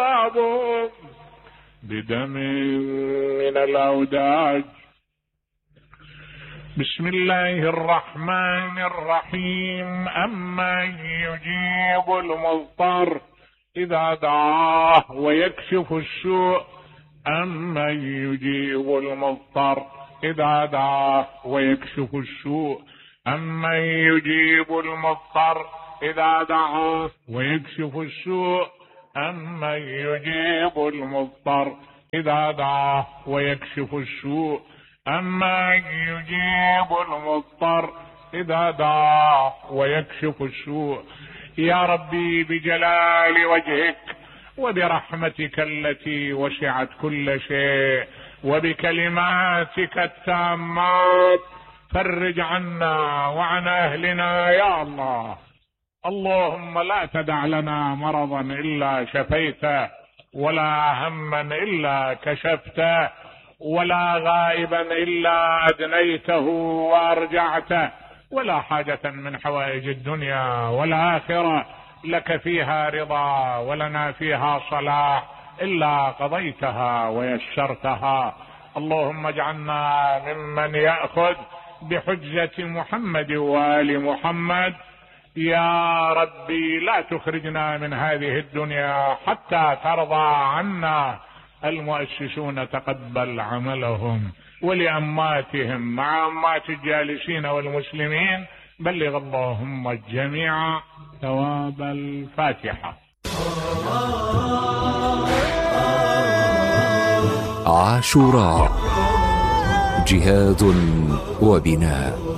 باب بدم من الأوداج. بسم الله الرحمن الرحيم. أمن يجيب المضطر إذا دعاه ويكشف السوء. أمن يجيب المضطر إذا دعاه ويكشف السوء. أمن يجيب المضطر إذا دعاه ويكشف السوء. أمن يجيب المضطر إذا دعاه ويكشف السوء. أمن يجيب المضطر إذا دعاه ويكشف السوء. يا ربي بجلال وجهك وبرحمتك التي وسعت كل شيء وبكلماتك التامات فرج عنا وعن أهلنا يا الله. اللهم لا تدع لنا مرضا إلا شفيته، ولا هما إلا كشفته، ولا غائبا إلا أدنيته وأرجعته، ولا حاجة من حوائج الدنيا والآخرة لك فيها رضا ولنا فيها صلاح إلا قضيتها ويسرتها. اللهم اجعلنا ممن يأخذ بحجة محمد وآل محمد. يا ربي لا تخرجنا من هذه الدنيا حتى ترضى عنا. المؤسسون تقبل عملهم، ولأماتهم مع أمات الجالسين والمسلمين بلغ اللهم الجميع ثواب الفاتحة. عاشوراء، جهاد وبناء.